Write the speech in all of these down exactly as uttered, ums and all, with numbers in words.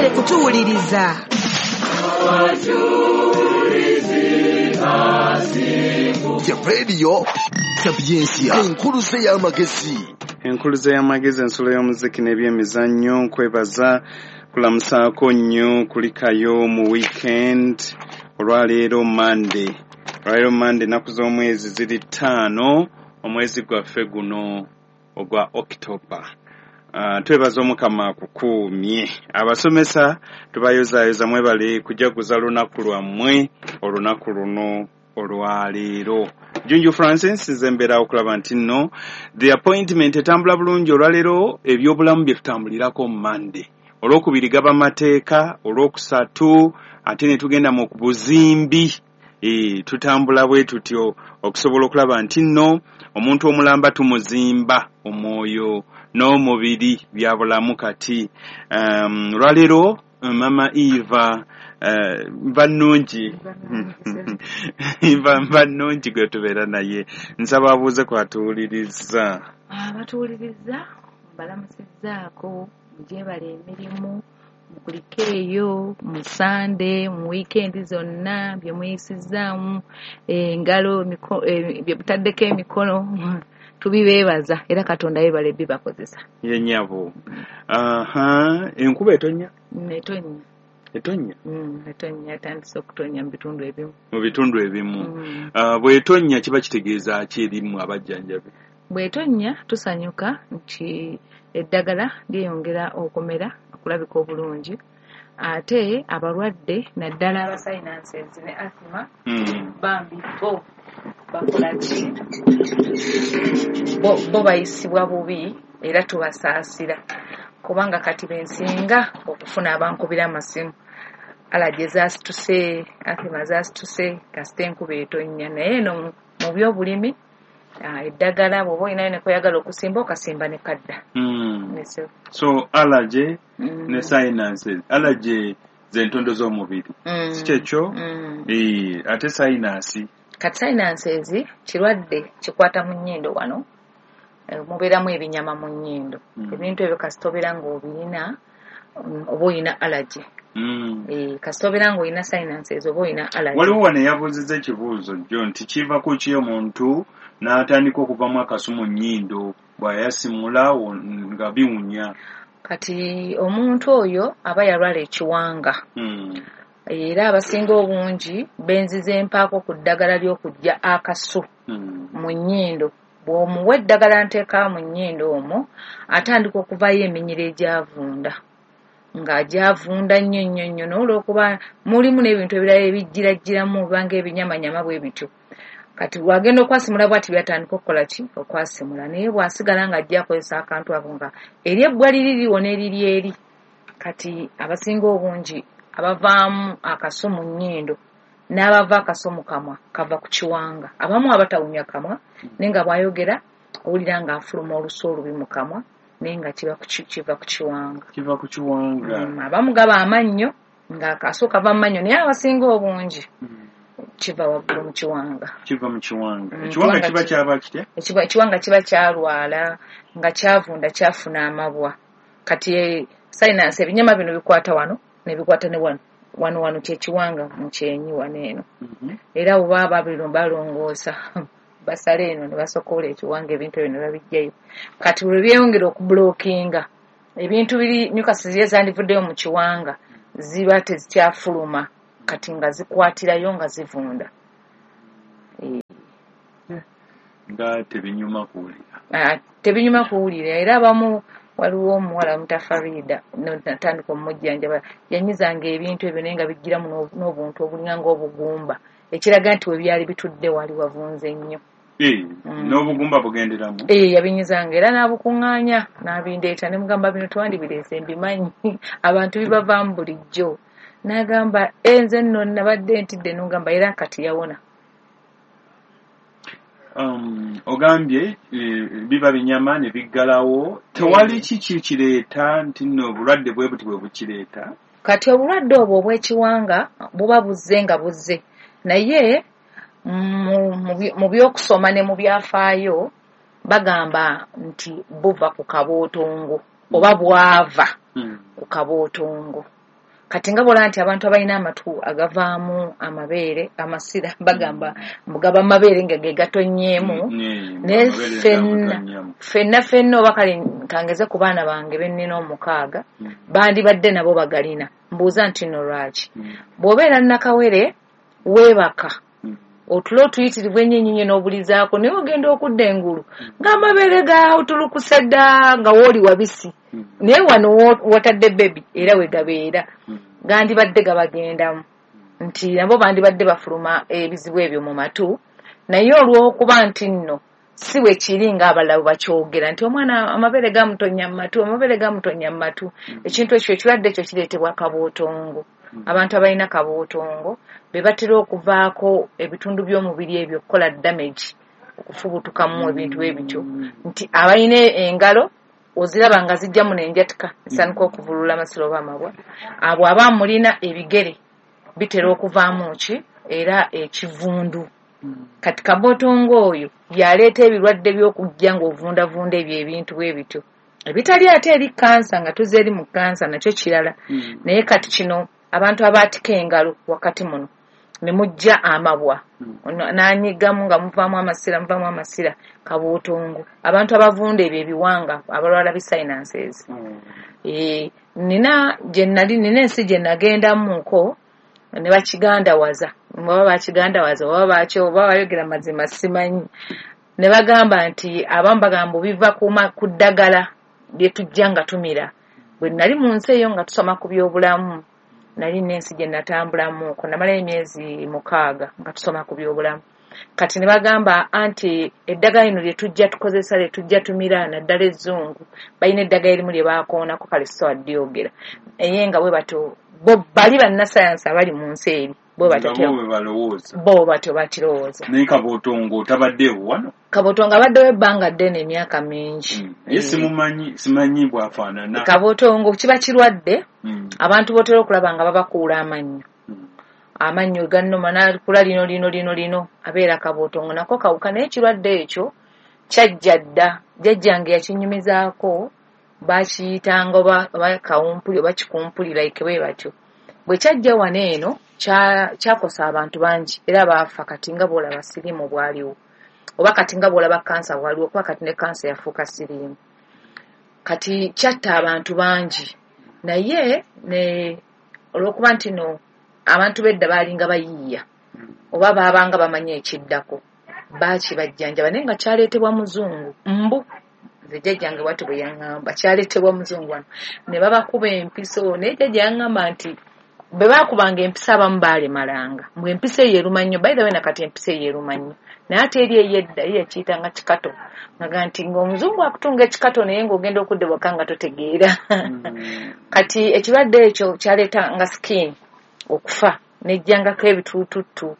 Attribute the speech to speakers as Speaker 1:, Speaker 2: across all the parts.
Speaker 1: Mwebale kutuwuliriza.
Speaker 2: Ya Radio Sapientia, enkuluze y'amagezi.
Speaker 3: Enkuluze y'amagezi, ensulo y'omuziki n'ebyemizannyo. Nkwebaza kulamusaako nnyo, kulikayo mu weekend. Olwaleero Monday, olwaleero Monday, ennaku z'omwezi ziri ttaano, omwezi gwaffe guno ogwa October. Uh, twebaza Omukama akukuumye. Abasomesa tubayozaayoza, mwebale kujaguza lunaku lwammwe, olunaku luno olwaleero. Junju Francis nze mbeera okulaba nti nno the appointment etambula bulungi. Olwaleero ebyobulamu bye tutambulirako Monday, olwokubiri gaba mateeka, olwokusatu ate ne tugenda mu buzimbi. E, tutambula bwe tutyo okusobola okulaba nti nno omuntu omulamba tumuzimba omwoyo n'omubiri bya bulamu. Kati um, olwaleero Mama Eva, uh, nva nnungi, nva nva nnungi gwe tubeera naye, nsaba abuuze kwatuwuliriza.
Speaker 4: Abatuwuliriza mbalamusizzaako, mugyebale emirimu, mukulike eyo mu Sande, mu wiikendi zonna bye muyisizzaamu engalo, bye mutaddeko emikono, tubibeebaza era Katonda yeebale bibakozesa.
Speaker 3: Ye nnyabo. Aha, enkuba etonnya?
Speaker 4: Etonnya.
Speaker 3: Etonnya?
Speaker 4: Mm, etonnya, etandise okutonnya mu bitundu ebimu.
Speaker 3: Mu bitundu ebimu. Mm. Uh, bw'etonnya kiba kitegeeza ki erimu abajjanjabi?
Speaker 4: Bw'etonnya tusanyuka nti eddagala lyeyongera okumera, okulabika obulungi, ate abalwadde naddala aba sinuses ne asthma,
Speaker 3: mm.
Speaker 4: bambi bo bakola ki? Bo, bo bayisibwa bubi era tubasaasira, kubanga kati bensinga okufuna abankubira amasimu, allergy zaasituse, asthma zaasituse, kasita enkuba etonnya. Naye eno mu byobulimi eddagala bw'oba olinayo ne kweyagala okusimba, okasimba ne kadda.
Speaker 3: Mm. So allergy mm. ne sinuses, allergy z'entondo z'omubiri,
Speaker 4: mm.
Speaker 3: si kyekyo?
Speaker 4: Mm.
Speaker 3: E, ate sinus?
Speaker 4: Kati sinuses kirwadde kikwata mu nnyindo wano, mubeeramu ebinyama mu nnyindo.
Speaker 3: Mm.
Speaker 4: Ebintu ebyo kasita obeera ng'obirina oba olina allergy.
Speaker 3: Mm.
Speaker 4: E, kasita obeera ng'olina sinuses oba olina allergy.
Speaker 3: Waliwo wano eyabuuzizza ekibuuzo jjo nti kiva ku ki omuntu n'atandika okuvamu akasu mu nnyindo bw'ayasimula nga biwunya?
Speaker 4: Kati omuntu oyo aba yalwala ekiwanga.
Speaker 3: Mm.
Speaker 4: Era abasinga obungi benziza empaako ku ddagala ly'okuggya akasu
Speaker 3: mm.
Speaker 4: mu nnyindo. Bw'omuwa eddagala nteeka mu nnyindo omwo, atandika okuvaayo eminyira egyavunda, ng'agyavunda nnyo nnyo nnyo, n'olwokuba mulimu n'ebintu ebirala ebijjirajjiramu obanga ebinyamanyama bwe bityo. Kati bw'agenda okwasimula bw'ati byatandika okukola ki? Okwasimula. Naye bw'asigala ng'ajja akozesa akantu ako nga eri ebbwa liri liwona eriri eri. Kati abasinga obungi abavaamu akasu mu nnyindo n'abava akasu mu kamwa kava ku kiwanga. Abamu abatawunya kamwa, naye nga bw'ayogera owulira ng'afuluma olusu olubi mu kamwa, naye nga kiba kiva ku kiwanga.
Speaker 3: Kiva ku kiwanga.
Speaker 4: Mm, abamu gaba amannyo ng'akasu kava mu mannyo, naye abasinga obungi
Speaker 3: mm.
Speaker 4: kiva waggulu mu kiwanga.
Speaker 3: Kiva mu kiwanga.
Speaker 4: Mm,
Speaker 3: Ekiwanga kiba kyaba kitya?
Speaker 4: Ekiwanga kiba kyalwala nga kyavunda, kyafuna amabwa. Kati sinus ebinyama bino bikwata wano ne bikwata ne wano. Wano wano kyekiwanga mu kyenyi wano eno.
Speaker 3: Mm -hmm.
Speaker 4: Era bwe baba balongoosa basale eno ne basokola ekiwanga, ebintu ebyo ne babiggyayo. Kati bwe byeyongera okubulokinga ebintu biri mucus ziri ezandivuddeyo mu kiwanga ziba tezikyafuluma, kati nga zikwatirayo nga zivunda. E.
Speaker 3: Nga tebinyuma kuwulira.
Speaker 4: Ah, tebinyuma kuwulira. Era abamu waliwo omuwala Mutafarida natandika omujjanjaba, yanyizanga ebintu ebyo naye nga bijjiramu n'obuntu obulinga ng'obugumba, ekiraga nti we byali bitudde wali wavunze nnyo.
Speaker 3: E,
Speaker 4: mm.
Speaker 3: N'obugumba bugenderamu?
Speaker 4: E, yabinyizanga era n'abukuŋŋaanya n'abindeeta ne mugamba bino twandibireese mbimanyi, abantu bibavaamu bulijjo. N'agamba nze nno nabadde ntidde, n'ogamba era kati yawona.
Speaker 3: Um, ogambye e, biba binyama ne biggalawo, tewali kiki kireeta nti nno obulwadde bwe buti bwe bukireeta?
Speaker 4: Kati obulwadde obwo obw'ekiwanga buba buzze nga buzze, naye mu by'okusoma ne mu byafaayo bagamba nti buva ku kabootongo oba bwava
Speaker 3: Mm.
Speaker 4: ku kabootongo. Kati nga bw'olaba nti abantu abalina amatu agavaamu amabeere, amasira, bagamba mbu gaba mabeere nga ge gatonyeemu, naye ffenna ffenna ffenna oba kale kangeze ku baana bange be nnina omukaaga, bandibadde nabo bagalina. Mbuuza nti nno lwaki? Bw'obeera nnakawere weebaka, otulo otuyitirivu ennyo ennyo n'obulizaako, naye ogenda okudda engulu ng'amabeere gaawutulukuse dda nga wooli wabisi, naye wano watadde bebi era we gabeera, gandibadde gabagendamu nti nabo bandibadde bafuluma ebizibu ebyo mu matu. Naye olw'okuba nti nno si bwe kiri ng'abalala bwe bakyogera nti omwana amabeere gamutonya mu matu, amabeere gamutonya mu matu, ekintu ekyo ekirwadde ekyo kireetebwa kabootongo. Abantu abalina kabootongo be batera okuvaako ebitundu by'omubiri ebyo okukola damage, okufubutukamu ebintu ebityo, nti abalina engalo oziraba nga zijjamu n'enjatika esanuka okuvulula amasiro oba amabwa, abo aba mulina ebigere bitera okuvaamu ki era ekivundu. Kati kabootongo oyo yaleeta ebirwadde by'okujja ng'ovundavunda ebyo ebintu bwe bityo ebitali ate eri kansa, nga tuzze eri mu kansa nakyo kirala. Naye kati kino abantu abaatika engalo wakati muno ne mujja amabwa n'anyigamu nga muvaamu amasira, muvaamu amasira, kabootongo. Abantu abavunda ebyo ebiwanga abalwala bi sinuses. Eh, nina gye nali nina ensi gye nagendamuko ne bakigandawaza, oba bakigandawaza oba bakyo oba bayogera mazima simanyi, ne bagamba nti abamu bagamba biva ku ddagala lye tujja nga tumira. Bwe nali mu nsi eyo nga tusoma ku byobulamu, nali n'ensi gye natambulamuko, namalayo emyezi mukaaga nga tusoma ku byobulamu. Kati ne bagamba anti eddagala lino lye tujja tukozesa, lye tujja tumira, naddala ezzungu, balina eddagala erimu lye baakoonako, kale sisobola ddyogera, naye nga bwe batyo bo bali bannasayansi abali mu nsi eri bo batyo bo batyo bakirowooza.
Speaker 3: Naye kabootongo tabaddeewo wano?
Speaker 4: Kabootongo abaddewo ebbanga ddene, emyaka mingi.
Speaker 3: Naye simumanyi, simanyi bw'afaanana.
Speaker 4: Kabootongo kiba kirwadde abantu b'otera okulaba nga babakuula amannyo, amannyo gannuma n'akula lino lino lino lino, abeera kabootongo nako kawuka. Naye ekirwadde ekyo kyajja dda, jjajjange yakinyumizaako, bakiyitanga oba kawumpuli oba kikumpuli like bwe batyo. Bwe kyajja wano eno kyakosa abantu bangi era baafa. Kati nga bw'olaba siriimu bwaliwo, oba kati nga bw'olaba kansa bwaliwo, kuba kati ne kansa yafuuka siriimu. Kati kyatta abantu bangi, naye ne olw'okuba nti no abantu b'edda baalinga bayiiya oba baabanga bamanyi ekiddako, baakibajjanjaba, naye nga kyaleetebwa muzungu mbu. Nze jjajjange bw'atyo bwe yaŋŋamba, kyaleetebwa muzungu wano ne babakuba empiso. Naye jjajja yaŋŋamba nti bwe baakubanga empiso abamu baalemalanga, mbu empiso eyo eruma nnyo. By the way, nakati empiso eyo eruma nnyo, naye ate eri ey'edda ye yakiyitanga kikato, nga nti ng'omuzungu akutunga ekikato naye ng'ogenda okudda waka nga totegeera. Kati ekirwadde ekyo kyaleetanga skin okufa, nejjangako ebituututtu.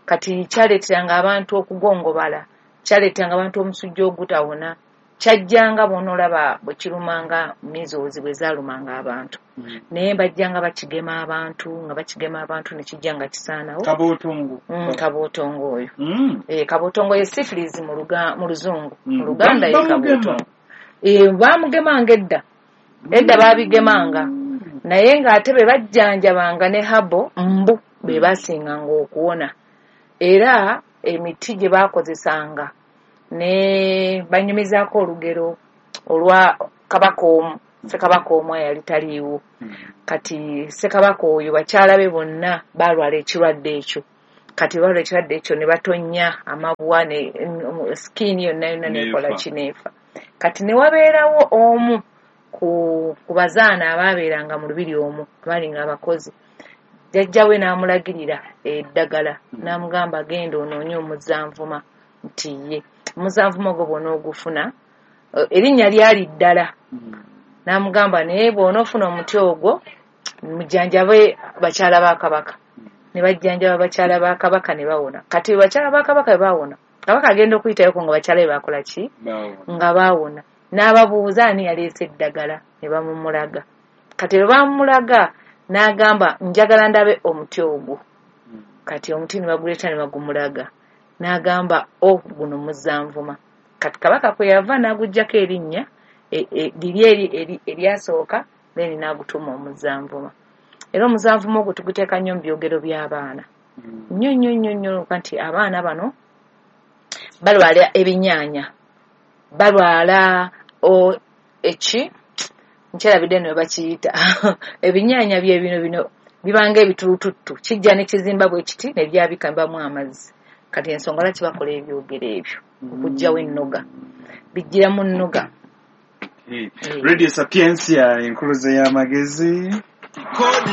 Speaker 4: Kati kyaleeteranga abantu okugongobala, kyaleeteranga abantu omusujja ogutawona, kyajjanga bw'onoolaba bwe kirumanga measles bwe zaalumanga abantu, naye bajjanga bakigema abantu nga bakigema abantu ne kijja nga kisaanawo.
Speaker 3: Kabootongo.
Speaker 4: Kabootongo oyo. Eh, kabootongo ye syphilis mu Luzungu, mu Luganda ye kabootongo. Eh, baamugemanga edda, edda baabigemanga, naye ng'ate be bajjanjabanga ne habo mbu be baasinganga okuwona. Era emiti gye baakozesanga ne banyumizaako olugero olwa kabaka omu, ssekabaka omu eyali taliiwo. Kati ssekabaka oyo bakyala be bonna baalwala ekirwadde ekyo. Kati baalwala ekirwadde ekyo ne batonnya amabwa ne skin yonna yonna n'ekola ki, n'efa. Kati ne wabeerawo omu ku ku bazaana abaabeeranga mu lubiri omwo, abaalinga abakozi, jjajja we n'amulagirira eddagala, n'amugamba genda onoonye omuzanvuma nti ye omuzanvuma ogwo bw'onoogufuna, erinnya lyali ddala, n'amugamba naye bw'onoofuna omuti ogwo mujjanjabe bakyala ba kabaka. Ne bajjanjaba bakyala ba kabaka ne bawona. Kati bakyala ba kabaka bwe baawona, kabaka agenda okuyitayoko nga bakyala be baakola ki? Nga baawona. N'ababuuza ani yaleese eddagala, ne bamumulaga. Kati bwe bamumulaga n'agamba njagala ndabe omuti ogwo. Kati omuti ne baguleeta ne bagumulaga, n'agamba o guno muzanvuma. Kati kabaka kwe yava n'aguggyako erinnya liri eri eryasooka, then n'agutuma omuzanvuma. Era omuzanvumo ogwo tuguteeka nnyo mu byogero by'abaana nnyo nnyo nnyo nnyo, nti abaana bano balwala ebinyaanya, balwala eki nkyerabidde nno bakiyita ebinyaanya bye bino bino bibanga ebitulututtu, kijja ne kizimba bwe kiti ne byabika bibamu amazzi. Kati ensonga lwaki bakola ebyogero ebyo okuggyawo ennoga, bijjiramu nnoga.
Speaker 3: Radio Sapientia, enkuluze y'amagezi.